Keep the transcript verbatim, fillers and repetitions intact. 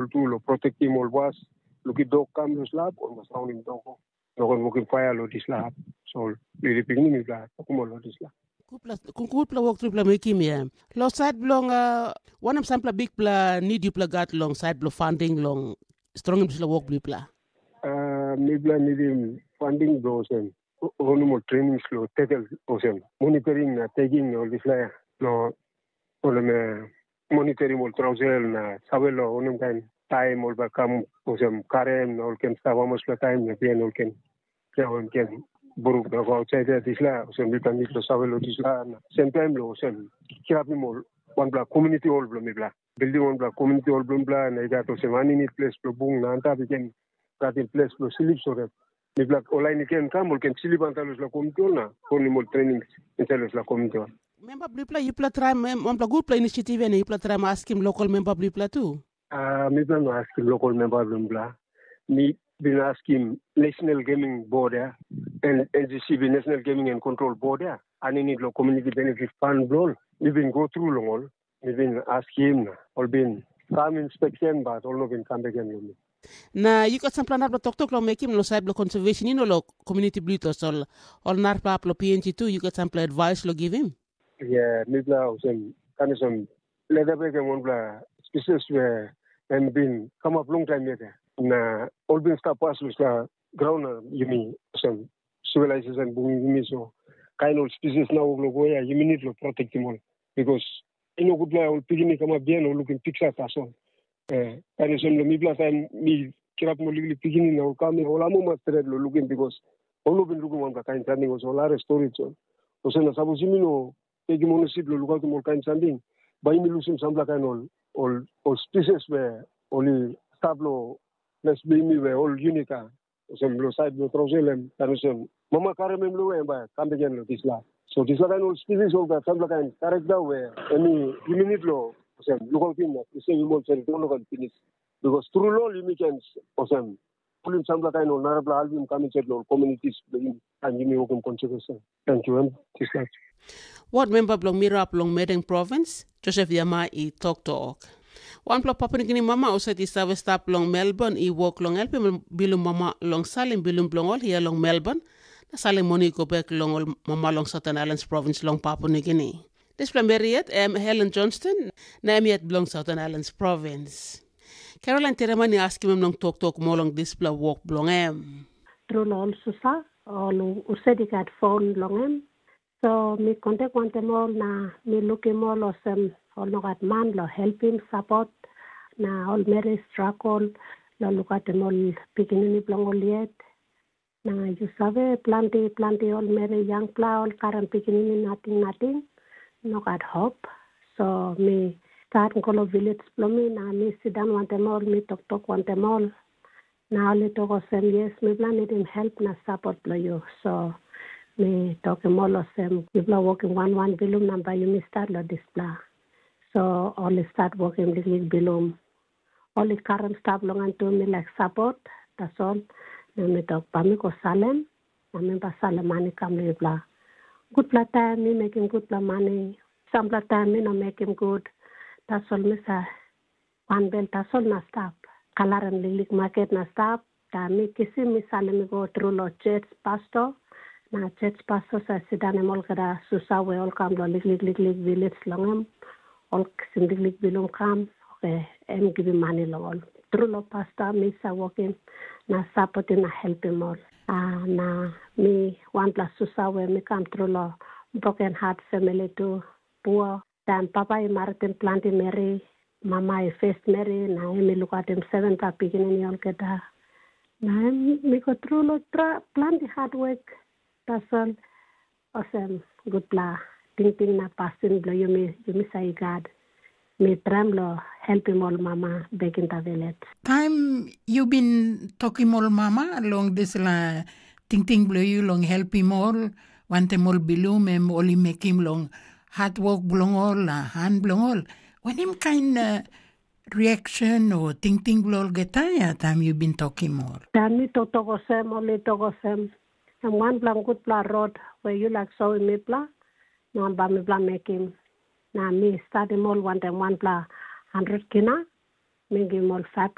Ol tu lo protektim ol was, lukim dok kam lo slap, ol mas raunim dok. No ken wokim paia lo dispela hap. So ol lili pikinini mipela tokim ol lo dispela. Gutpela, gutpela wok tupela mekim ya. Lo sait bilong uh, wanem sampela bikpela nid yupela gat long sait bilong funding long strongim dispela wok bilong yupela? Uh, mipela nidim funding bilong olsem, o- onim ol trainings lo tekel olsem, monitoring na taking ol dispela ya. Lo olem eh, monitoring ol trausel na save lo onim kain taim ol bai kam olsem karem na ol ken stap amaspela taim na bihain ol ken kiawen ken buruk na go ausait ya dispela olsem mipela nid lo save lo dispela na sem taim lo olsem kirapim ol wanpela komuniti ol bilong mipela. Bildim wanpela komuniti ol bilong mipela na i gat olsem aninit ples bilong bung na antap i ken gatim ples bilong slip so that mipela ol lain i ken kam ol ken slip antap long dispela komuniti ol na konim ol trening insait long dispela komuniti ol. Memba bilipela yupela traim wanpela gutpela inisiativ ya na yupela traim askim lokal memba bilipela tu. Uh, mipela no askim lokal memba bilipela. Mi bin askim National Gaming Board ya, and N G C B, National Gaming and Control Board ya, aninit lo Community Benefit Fund bilong ol. Mi bin go tru long ol. Mi bin askim na ol bin kam inspection, bat ol no bin kam bek gen long mi. Na yu gat sampela narapela toktok long mekim long sait bilong conservation ino long community bilong tasol ol narapela hap long P N G tu yu gat sampela advice long givim? Yeah, mipela olsem kanisem leda bek em wanpela species we em bin kamap long taim yet. Na ol bin stap pas long dispela graun na yumi olsem civilization bung yumi so kain ol species na wok long go ya yumi need long protectim ol. Because i no gutpela ol pikinini kamap bihain ol lukim piksa tasol. Eh, kain olsem long mipela taim mi kirapim ol liklik pikinini na ol kam ol amuma stret long lukim bikos ol no bin lukim wanpela kain samting olsem ol harim stori tasol. Olsem na sapos yumi no tekim onesip long lukautim ol kain samting, bai yumi lusim sampela kain ol ol ol spises we ol i stap long ples bilong yumi we ol yunit a olsem long sait bilong Trosel em, em olsem mama karim em long em bai kam bek gen long dispela. So dispela kain ol spirit ol gat sampela kain karakta we em i yumi nid long olsem lukautim na prisevim ol seri dolo kan pinis. Bikos tru lo ol yumi ken olsem pulim sampela kain ol narapela album kam insait long ol communities bilong yumi, and yumi wokim konsekresen. Thank you, em dispela. Ward memba bilong Mirap long Medeng provins, Joseph Yama i toktok. Wanpela papinigini mama husat i save stap long Melbourne i wok long helpim bilum mama long salim bilum bilong ol hia long Melbourne, na salim moni i go bek long ol mama long Southern Islands provins long Papua Nugini. Dispela meri yet em Helen Johnston, na em yet bilong Southern Islands provins. Caroline Tereman i askim em long toktok moa long dispela wok bilong em. Tru long ol susa, ol husat i gat fon long em, so mi kontak wantaim ol na mi lukim ol olsem ol no gat man long helpim sapot, na ol meri stragol long lukautim ol pikinini bilong ol yet. Na yu save, planti planti ol meri yangpela ol karim pikinini nating nating, no gat hop. So mi stat go long viles bilong mi na mi sindaun wantaim ol, mi toktok wantaim ol. Na ol i tok olsem, yes, mipela nidim help na sapot bilong yu. So mi tokim ol olsem, yupela wokim wan wan bilum na bai yumi stat long dispela. So ol i stat wokim liklik bilum. Ol i karim stap long en tu, mi laik sapot, tasol. Na mi tok, bai mi go salem, na mi bai salem mani kam long yupela. Gutpela taim mi mekim gutpela mani, sampela taim mi no mekim gut. Tasol mi sa wanbel tasol na stap. Kalarim liklik maket na stap, da mi kisim mi salim i go tru long church pastor. Na church pastor sa sindanim olgeta susa we ol kam long liklik liklik viles long em, ol kisim liklik bilum kam, oke, em givim mani long ol. Tru long pastor mi sa wokim na sapotim na helpim ol. A, na mi wanpela susa we mi kam tru long broken heart family tu, pua. Taim papa i maritim planti meri, mama i fes meri, na em i lukautim sevenpela pikinini olgeta. Na em mi go tru long tra planti hatwek, tasol olsem gutpela tingting na pasin bilong yumi, yumi sa i gat. Mi traim long helpim ol mama bekinta vilet. Taim yu bin tokim ol mama long dispela tingting bilong yu long helpim ol, wantaim ol bilum em ol i mekim long hatwok bilong ol, na han bilong ol, wanem kain uh, reaction o tingting bilong olgeta ya taim yu bin tokim ol? Taim mi toktok olsem, ol i tok olsem, em wanpela gutpela rot we yu laik soim mipela, na bai mipela mekim. Na mi stadim ol wantaim wanpela handret kina, mi givim ol fap